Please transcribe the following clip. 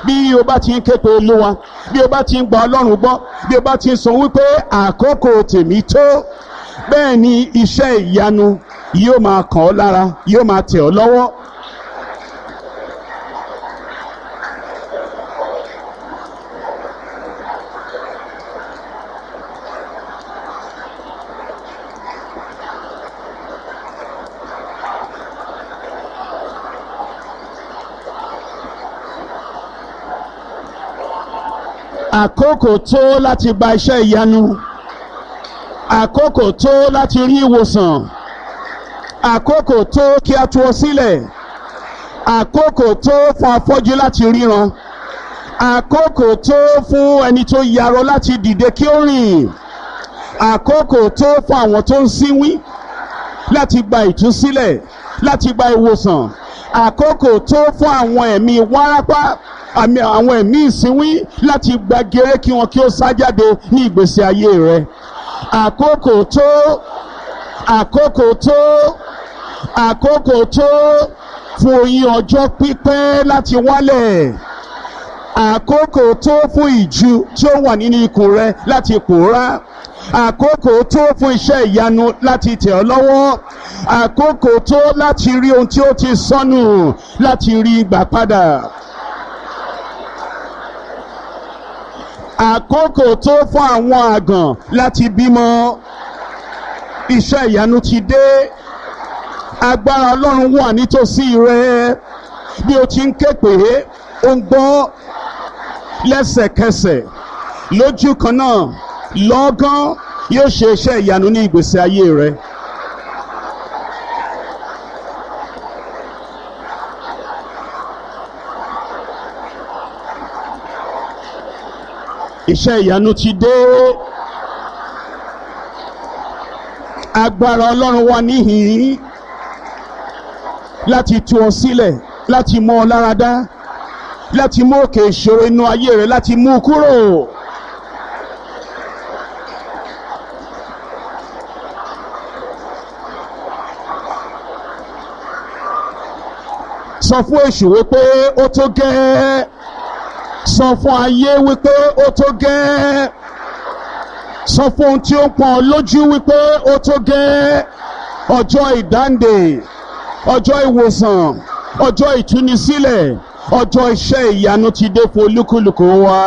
Bí o bá ti ń ké pe Olúwa, bí o bá ti ń gba Ọlọ́run gbọ́, bí o bá ti ń sọ wípé àkókò tèmi tó, bẹ́ẹ̀ ni iṣẹ́ ìyanu yóò máa kàn ọ́ lára, yóò máa tẹ̀ ọ́ lọ́wọ́. Àkókò tó láti gba iṣẹ́ ìyanu, àkókò tó láti rí ìwòsàn, àkókò tó kí a tú ọ sílẹ̀, àkókò tó fún afọ́jú láti ríran, àkókò tó fún ẹni tó yarọ láti dìde kí ó rìn, àkókò tó fún àwọn tó ń sínwín láti gba ìtúsílẹ̀, láti gba ìwòsàn, àkókò tó fún àwọn ẹ̀mí wárápá, àwọn ẹ̀mí ìsínwín láti gba gèrè kí wọn kí ó sá jáde ní ìgbésí ayé rẹ. Àkókò tó, àkókò tó, àkókò tó fún oyin ọjọ́ pípẹ́ láti wálẹ̀, àkókò tó fún ìju tí ó wà nínú ikùn rẹ láti pòórá, àkókò tó fún iṣẹ́ ìyanu láti tẹ̀ ọ́ lọ́wọ́, àkókò tó láti rí ohun tí ó ti sọnù láti rí gbà padà. Àkókò tó fún àwọn àgàn láti bímọ. Iṣẹ́ ìyanu ti dé. Agbára Ọlọ́run wà nítòsí rẹ. Bí o ti ń ké pè é, ó ń gbọ́ lẹ́sẹ̀kẹsẹ̀. Lójú kan náà, lọ́gán yóò ṣe iṣẹ́ ìyanu ní ìgbésí ayé rẹ. Iṣẹ́ ìyanu ti dé. Agbára Ọlọ́run wà níhìn-ín láti tú ọ sílẹ̀, láti mú ọ láradá, láti mú òkè ìṣòro inú ayé rẹ, láti mú u kúrò. Sọ fún èṣù wípé ó tó gẹ́ẹ́. Sọ fún ayé wípé ó tó gẹ́. Sọ fún ohun tí ó ń pọ́n lójú wípé ó tó gẹ́. Ọjọ́ ìdáǹdè, ọjọ́ ìwòsàn, ọjọ́ ìtúnisílẹ̀, ọjọ́ iṣẹ́ ìyanu ti dé fún olúkúlùkù wa.